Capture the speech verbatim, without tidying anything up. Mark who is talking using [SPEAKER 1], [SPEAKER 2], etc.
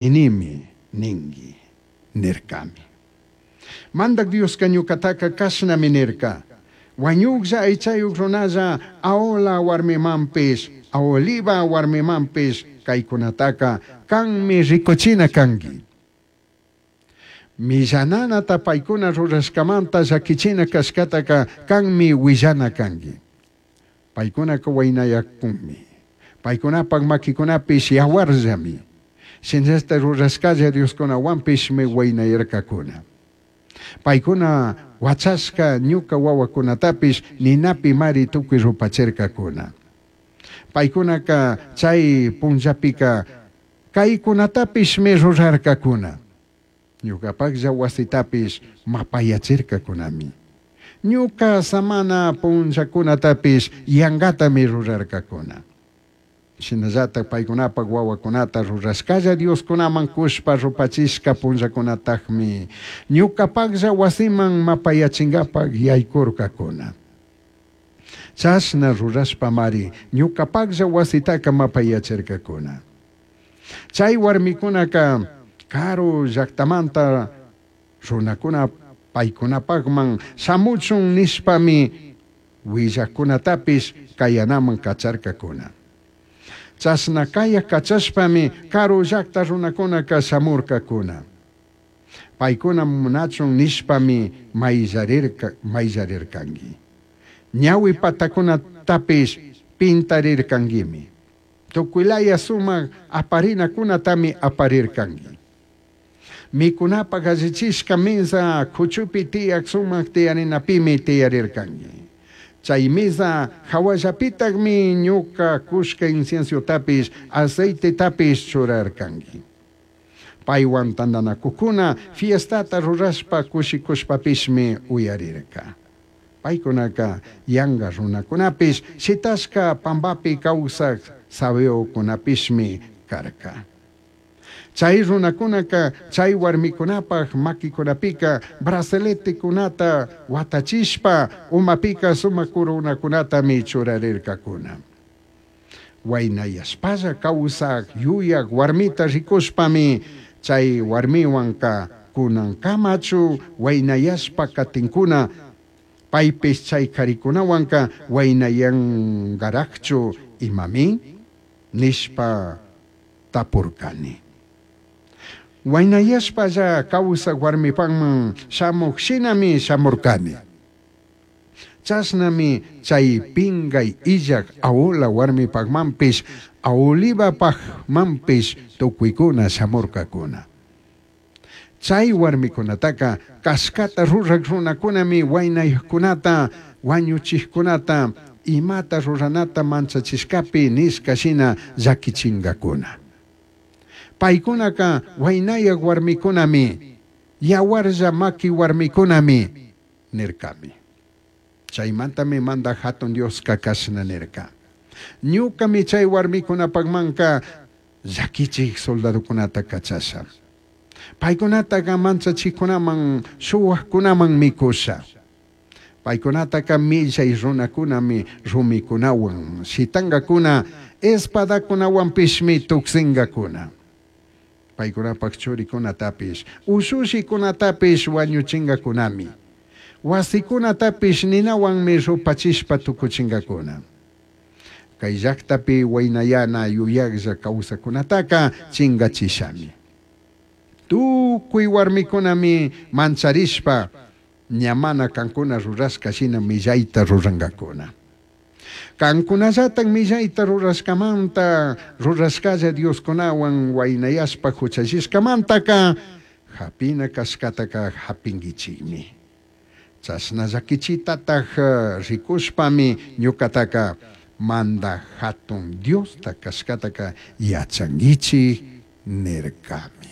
[SPEAKER 1] Ninimi ningui nircami. Mandaj Diosca ñucataca cashnami nirca: Huañujlla aichayuj runalla, Ahola huarmimanpish, Aholiba huarmimanpish caicunataca canmi ricuchina cangui. Millananata paicuna rurashcamanta llaquichina cashcataca canmi huillana cangui. Paicunaca huainayacunmi. Paicunapaj maquicunapish yahuarllami. Shinallataj rurashcalla dioscunahuanpishmi huainayarcacuna. Paicuna huachashca ñuca huahuacunatapish ninapimari tucui rupachircacuna. Paicunaca chai punllapica caicunatapishmi rurarcacuna. Ñucapajlla huasitapish mapayachircacunami. Ñuca samana punllacunatapish yangatami rurarcacuna. Shinallataj paicunapaj huahuacunata rurashcalla dioscunaman cushpa rupachishca punllacunatajmi ñucapajlla huasiman mapayachingapaj yaicurcacuna. Chashna rurashpamari ñucapajlla huasitaca mapayachircacuna. Chai huarmicunaca caru llajtamanta runacuna paicunapajman shamuchun nishpami huillajcunatapish cayanaman cacharcacuna. Chashna cayaj cachashpami caru llajta runacunaca shamurcacuna. Paicuna munachun nishpami maillarirca, maillarircangui. Ñahui patacunatapish pintarircanguimi. Tucuilaya sumaj aparinacunatami aparircangui. Micunapaj allichishca mesa cuchupi tiyaj sumaj tiyarinapimi tiyarircangui. Chai mesa jahuallapitajmi ñuca cushca inciensotapish aceitetapish churarcangui. Paihuan tandanacujcuna fiestata rurashpa cushicushpapishmi uyarirca. Paicunaca yanga runacunapish shitashca pambapi causaj sabeocunapishmi carca. Chai runacunaca chai huarmicunapaj maquicunapica braceletecunata huatachishpa umapica sumaj coronacunatami churarircacuna. Huainayashpalla causaj yuyaj huarmita ricushpami chai huarmihuanca cunancamachu huainayashpa catincuna, paipish chai caricunahuanca huainayangarajchu imami nishpa tapurcani. Huainayashpalla causaj huarmipajman shamuj shinami shamurcani. Chashnami chai pingay illaj Ahola huarmipajmanpish Aholibapajmanpish tucuicuna shamurcacuna. Chai huarmicunataca cashcata ruraj runacunami huainayajcunata, huañuchijcunata, imata ruranata manchachishcapi nishca shina llaquichingacuna. Paicunaca huainayaj huarmicunami, yahuarlla maqui huarmicunami nircami. Chaimantami Mandaj Jatun Diosca cashna nirca: Ñucami chai huarmicunapajmanca llaquichij soldadocunata cachasha. Paicunataca manchachijcunaman, shuhuajcunaman micusha. Paicunataca millai runacunami rumicunahuan shitangacuna, espadacunahuanpishmi tucsingacuna. Paicunapaj churicunatapish, ushushicunatapish huañuchingacunami. Huasicunatapish ninahuanmi rupachishpa tucuchingacuna. Cai llajtapi huainayana yuyajlla causacunataca chingachishami. Tucui huarmicunami mancharishpa ña mana cancuna rurashca shina millaita rurangacuna. Cancunallataj millaita rurashcamanta, rurashcalla dioscunahuan huainayashpa juchallishcamantaca japina cashcataca japinguichijmi. Chashna llaquichitataj ricushpami ñucataca Mandaj Jatun Diosta cashcataca yachanguichij nircami.